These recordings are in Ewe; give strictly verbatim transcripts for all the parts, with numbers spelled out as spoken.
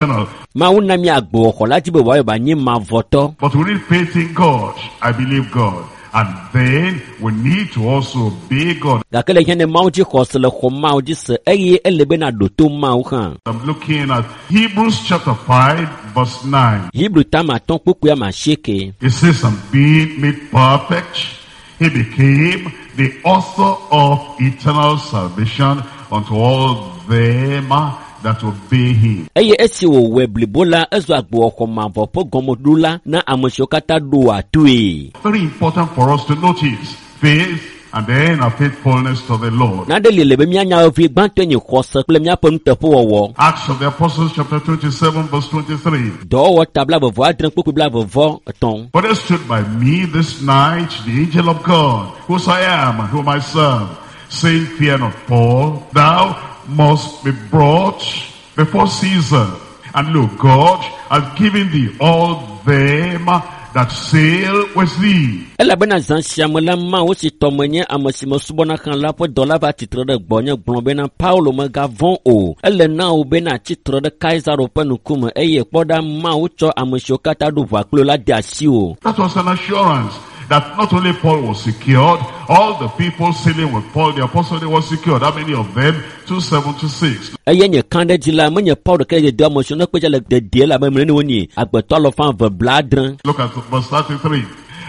Mawu na mi agbewɔxɔ la dzi be wòayɔ be anyi mavɔtɔ. But we need faith in God. I believe God. And then we need to also obey God. Gake le hiã ne Mawu dzi xɔse le xɔ Mawu dzi se eye ele be na ɖo to Mawu hã. I'm looking at Hebrews chapter five verse nine. Hebrew tama atɔ̃ kpukpui ame asieke. It says, and being made perfect, he became the author of eternal salvation unto all them that obey him. Eye esi wòwɔe blibo la, ezu agbewɔxɔ mavɔ ƒe gɔmeɖola na ame siwo katã ɖoa toe. Very important for us to notice faith and then our faithfulness to the Lord. Nane li le be míanya vevie gbãtɔe nye xɔse kple míaƒe nuteƒewɔwɔ. Acts of the Apostles chapter twenty-seven verse twenty-three. Dɔwɔwɔ ta blaeve vɔ adre kpukpui blaeve vɔ etɔ̃. For there stood by me this night the angel of God, whose I am and whom I serve, saying, Fear not, Paul, thou must be brought before Caesar. And look, God has given thee all them that sail with thee. Elabena zã sia me la, Mawu si tɔ menye ame si mesubɔna hã la ƒe dɔla va tsitre ɖe gbɔnye gblɔ bena Paulo megavɔ̃ o. Ele na wò bena tsitre ɖe Kaisaro ƒe ŋkume eye kpɔ ɖa Mawu tsɔ ame siwo katã ɖo ʋua kpli wò la de asiwò. That was an assurance that not only Paul was secured, all the people sailing with Paul the apostle, they were secured. How many of them? two seventy-six. Eye nye kã ɖe dzi la, menye Paul ɖeka ye do ame siwo ne kpe dze le dedie la be mene wonyi agbetɔ alafa eve blaadre. Look at verse thirty-three.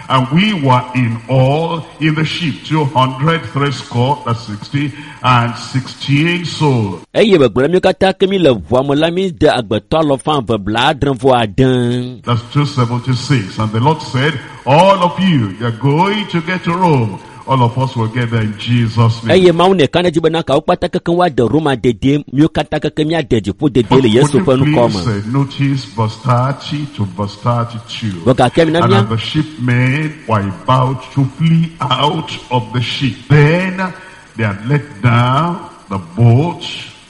And we were in all in the ship, two hundred three score, that's sixty, and sixteen souls. Eye begblɔ mi katã ke mi le ʋua me la, mi de agbetɔ alafa eve blaadre vɔ ade. That's two seventy-six. And the Lord said, all of you, you're going to get to Rome. All of us will get there in Jesus' name. Eye Mawu ne ka ɖe dzi bena kawo kpata keke woade Roma dedie, miwo katã keke míade dziƒo dedie le Yesu Would ƒe you ŋkɔ me. please, uh, notice verse thirty to verse thirty-two. Vɔ gake mina And mía as the shipmen were about to flee out of the ship, then they had let down the boat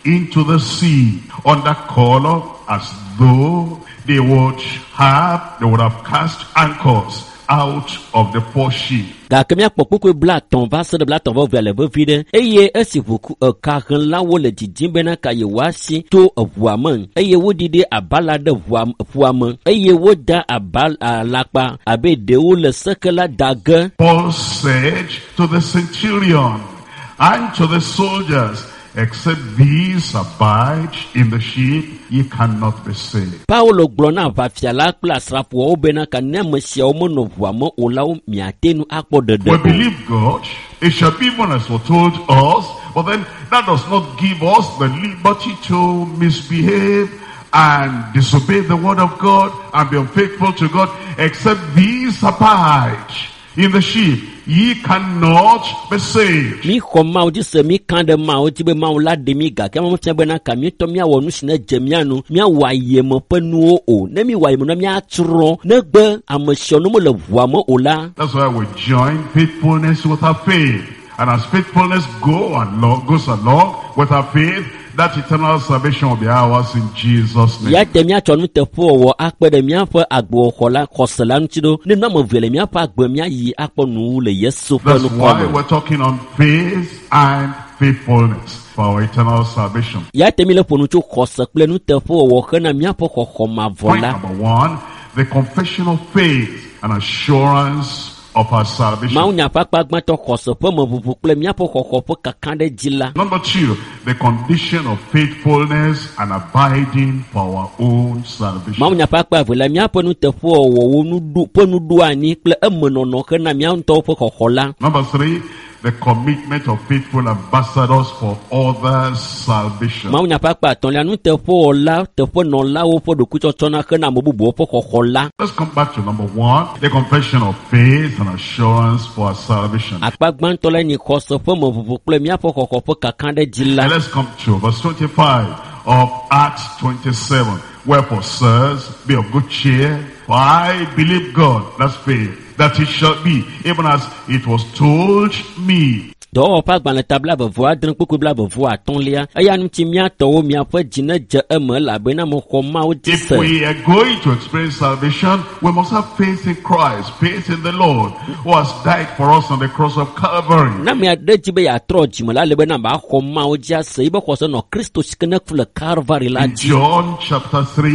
into the sea under color as though they would have, they would have cast anchors out of the foreship. Gake míakpɔ kpukpui blaetɔ̃ va se ɖe blaetɔ̃ vɔ evea le vevi ɖe. Eye esi ʋuku ekahlẽlawo le didim bena ka yewoasi to eʋua me eye woɖiɖi abala ɖe ʋua, ƒua me eye woda aba alakpa abe ɖewo le seke la da ge. Paul said to the centurion and to the soldiers, except these abide in the ship, ye cannot be saved. Paulo gblɔ na aʋafia la kple asrafoawo bena ka ne ame siawo menɔ ʋua me o la, wo miate ŋu akpɔ ɖeɖe We o. believe God, it shall be even as foretold us, but then that does not give us the liberty to misbehave and disobey the word of God and be unfaithful to God, except these abide in the ship, ye cannot be saved. Mi xɔ Mawu dzi se, mi kã ɖe Mawu dzi be Mawu la ɖe mi gake ame fia bena ka mietɔ miawɔ nu si ne dze mia nu, miawɔ ayeme ƒe nuwo o. Ne mi wɔ ayeme nua, miatsrɔ̃. Negbe ame siawo ne mele ʋua me o la. That's why we join faithfulness with our faith. And as faithfulness go along, goes along with our faith, that eternal salvation will be ours in Jesus' name. Ya te míatsɔ nuteƒewɔwɔ akpe ɖe míaƒe agbewɔxɔ la, xɔse la ŋuti ɖo. Ne nu ame eve le míaƒe agbe míayi akpɔ nuwu le Yesu ƒe That's ŋkɔ why me. we're talking on faith and faithfulness for our eternal salvation. Ya te mi le ƒo nu tso xɔse kple nuteƒewɔwɔ hena míaƒe xɔxɔ mavɔ Point la. number one, the confession of faith and assurance of our salvation. Mawu nya ƒe akpa gbãtɔ xɔse ƒe meʋuʋu kple míaƒe xɔxɔ ƒe kaka ɖe dzi la. Number two, the condition of faithfulness and abiding for our own salvation. Mawu nya ƒe akpa eve la, míaƒe nuteƒewɔwɔwo nuɖo, ƒe nuɖoanyi kple emenɔnɔ hena mía ŋutɔwo ƒe xɔxɔ la. Number three, the commitment of faithful ambassadors for others' salvation. Mawu nya ƒe akpa etɔ̃lia, nuteƒewɔla teƒenɔlawo ƒe ɖokuitsɔtsɔna hena ame bubuwo ƒe xɔxɔ la. Let's come back to number one, the confession of faith and assurance for our salvation. Akpa gbãtɔ la nye xɔse ƒe meʋuʋu kple míaƒe xɔxɔ ƒe kaka ɖe dzi la. And let's come to verse twenty-five of Acts twenty-seven. Wherefore, sirs, be of good cheer, for I believe God, that's faith, that it shall be, even as it was told me. Dɔwɔwɔ ƒe agbalẽ ta blaeve vɔ adre kpukpui blaeve vɔ atɔ̃lia eya ŋuti míatɔwo miaƒe dzi ne dze eme elabena mexɔ Mawu dzi If se. we are going to experience salvation, we must have faith in Christ, faith in the Lord who has died for us on the cross of Calvary. Ne ame aɖe dzi be yeatrɔ dzime la, ele bena baxɔ Mawu dzi ase yibe xɔse nɔ Kristo si ke ne ku le Kalvari la In dzi. John chapter three,